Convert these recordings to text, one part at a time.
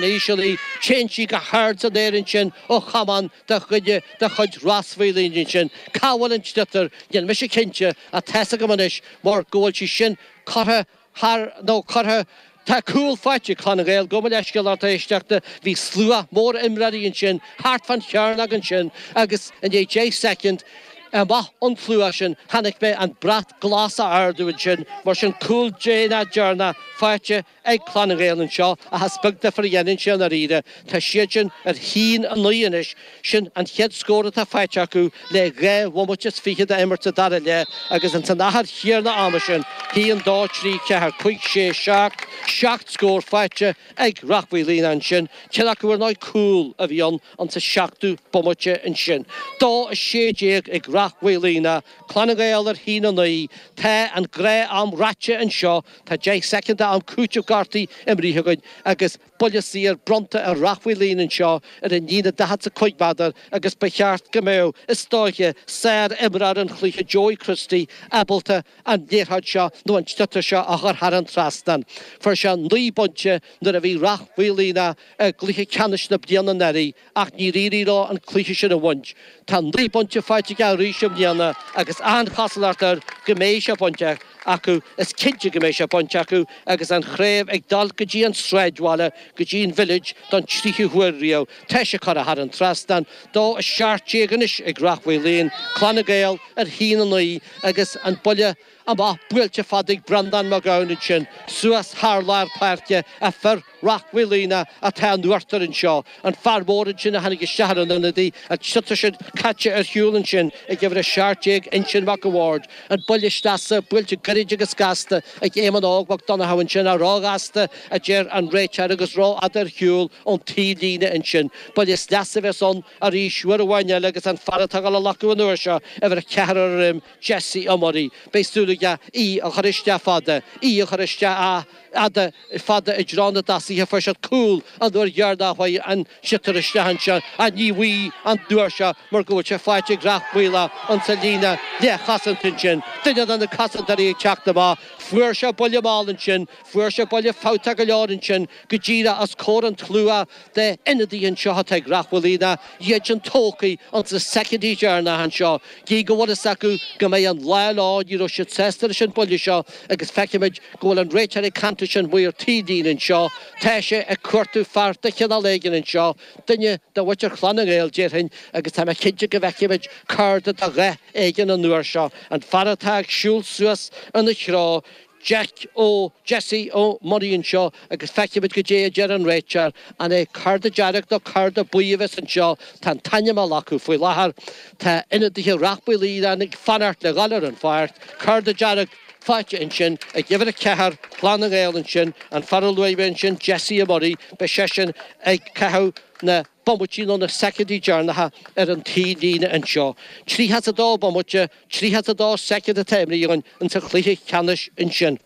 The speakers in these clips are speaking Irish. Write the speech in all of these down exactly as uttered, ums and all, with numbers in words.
Íseal í, téann sí go hard san aer ansin ó chamán de chuid de chuid Ros Mhaoilín ansin. Cá bhfuil an sliotar? Níl mise cinnte, ach tá's agam anois mar go bhfuil sí sin curtha thar nó curtha Tá cúl faighte ag Clann na nGael, gabh mo leithscéal lucht éisteachta, bhí slua mór imreoirí ansin thart fán chearnóg ansin agus i ndiaidh deich soicind amach ón tslua sin chonaic mé an brat glas á ardú ansin, mar sin cúl déanach deireanach faighte ag Clann na nGael anseo ach is beag difear a dhéanann sé i ndáiríre. Tá siad sin ar haon a naoi anois, sin an chéad scór atá faighte acu le dhá bhomaite is fiche d'imirt sa dara leath agus ins an achar chéanna ama sin, haon, dó, trí, ceathair, cúig, sé, seacht, seacht scór faighte ag Rath Mhaoilíona ansin, ceann acu ar ndóigh cúl a bhí ann insa seachtú bomaite ansin. Dó a sé déag ag Rath Mhaoilíona, Clann na nGael ar haon a naoi. Tá an gnáth-am ráite anseo, tá deich soicind d'am cúitimh gortaithe imrithe againn agus buille saor bronnta ar Rath Mhaoilíona anseo ar an líne daichead is a cúig méadar agus ba cheart go mbeadh, is dóiche, sár-imreoir an chluiche Joey Christie ábalta an liathróid seo nó an sliotar seo a chur thar an trasnán. Fuair sé naoi bpointe nuair a bhí Rath Mhaoilíona i gcluiche ceannais na bliana anuraidh ach níor éirigh leo an cluiche sin a bhaint. Tá naoi bpointe faighte aige arís i mbliana agus an-chosúlacht air go mbeidh sé bainte acu. Is cinnte go mbeidh sé bainte acu agus an chraobh ag dul go dtí an sráidbhaile, go dtí an Village don tríú huair riamh. Tá sé curtha thar an trasnán. Dó a seacht déag anois ag Rath Mhaoilíona, Clann na nGael ar haon a naoi agus an buille amach buailte fada ag Breandán Mac Gabhann ansin suas thar lár páirce ach fir Rath Mhaoilíona atá in uachtar anseo. An fear mór ansin a tháinig isteach ar an ionadaí, an sliotar sin caite ar shiúl ansin ag uimhir a seacht déag, Uinseann Mac a' Bhaird. An buille sleasa, buailte gairid agus gasta ag Éamonn Óg Mac Donnchadha ansin, ach róghasta a deir an réiteoir agus rófhada ar shiúl ón taobhlíne ansin. Buille sleasa a bheas ann arís uair amháin eile agus an fear atá ag dul á ghlacadh an uair seo, uimhir a ceathair ar an droim, Jesse Ó Muirí. Beidh súil aige í a chur isteach fada, í a chur isteach fhada fada i dtreo na dtosaithe. Fuair siad cúl an uair dheireanach a chuaigh an sliotar isteach anseo ach ní bhuí an uair seo mar go bhfuil sé faighte ag Rath Mhaoile insa líne leathchosanta ansin. Duine de na cosantóirí ag teacht amach. Fuair sé buille mall ansin. Fuair sé buille fabhtach go leor ansin go díreach os comhair an tslua de ionadaithe anseo atá ag Rath Mhaoilíona, iad sin tógtha ins na soicindí deireanacha anseo. Gidh go bhfuil fhios acu go mbeidh an lá leo, ní raibh siad sásta leis an buille seo agus feicimid go bhfuil an réiteoir ag caint leis an maor taobhlíne anseo. Tá sé ag cuartú fear de chineál éigin anseo, duine de mhuintir Chlann na nGael, déarfainn, agus tá mé cinnte go bhfeicfimid cárta de dhath éigin an uair seo. An fear atá ag siúl suas ina threo, Jack Ó Jesse Ó Muirí anseo agus feicfimid goidé a deir an réiteoir. An é cárta dearg nó cárta buí a bheas anseo? Tá an t-ainm á ghlacadh faoi láthair. Tá ionadaithe Rath Maoilíona ag fanacht le dhul ar an pháirc. Cárta dearg faighte ansin ag uimhir a ceathair, Clann na nGael ansin. An fear a luaigh mé ansin, Jesse Ó Muirí, beidh seisean ag caitheamh na bomaití nó na soicindí deireanacha ar an taobhlíne anseo. Tríocha is a dó bomaite, tríocha is a dó soicind atá imrithe againn insa chluiche ceannais ansin.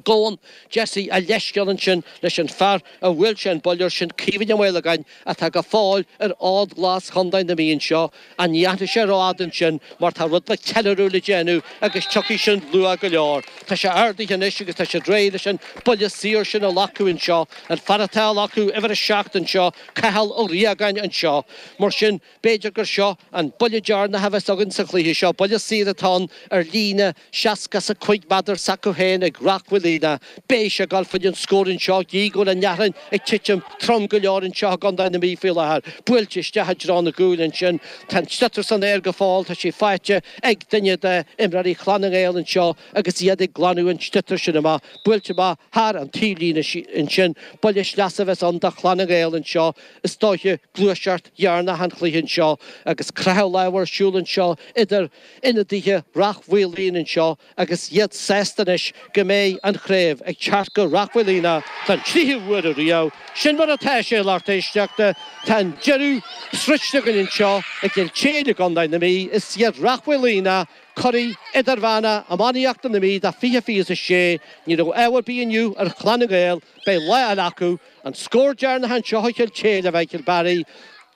Gabhann Jesse a leithscéal ansin leis an fear a bhuail sé an buille air, sin Caoimhín Ó Maolagáin atá go fóill ar fhód glas Chontae na Mí anseo. Ach ní fhanfaidh sé rófhada ansin mar tá rud beag ceiliúradh le déanamh agus tiocfaidh sin luath go leor. Tá sé ardaithe anois agus tá siad réidh leis an buille saor sin a ghlacadh anseo. An fear atá á ghlacadh, uimhir a seacht anseo, Cathal Ó Riagáin anseo. Mar sin, b'fhéidir gur seo an buille deireanach a bheas againn sa chluiche seo. Buille saor atá ann ar líne seasca is a cúig méadar s'acu féin ag Rath Mhaoilíona. Beidh sé ag dul fá choinne an scór anseo, gidh go bhfuil an fhearthainn ag titim trom go leor anseo i gContae na Mí faoi láthair. Buailte isteach i dtreo na gcúil ansin. Tá an sliotar san aer go fóill, tá sé faighte ag duine d'imreoirí Chlann na nGael anseo agus iad ag glanadh an tsliotair sin amach. Buailte amach thar an taobhlíne ansin. Buille sleasa a bheas ann do Chlann na nGael anseo, is dóiche, gluaiseacht dheireanach an chluiche anseo agus croitheadh lámh ar siúl anseo idir ionadaithe Rath Mhaoilíona anseo agus iad sásta anois go mbeidh an chraobh ag teacht go Rath Mhaoilíona don tríú huair ariamh. Sin mar atá sé, a lucht éisteachta. Tá an deireadh sroichte againn anseo i gCill tSéadhna i gContae na Mí. Is iad Rath Mhaoilíona curaidh idirmheánach iománaíochta na Mí do fiche fiche is a sé. Ní raibh ádh ar bith inniu ar Chlann na nGael. Beidh lá eile acu. An scór deireanach anseo i gCill tSéadhna, a Mhichael Barry,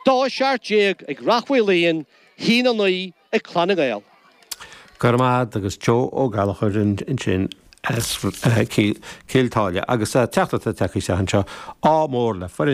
dó a seacht déag ag Rath Mhaoilíona, haon a naoi ag Clann na nGael. Go raibh maith agat agus Joe Ó Gallchóir ansin as Cill Táile agus teachtaireacht tagtha anseo ádh mór le foireann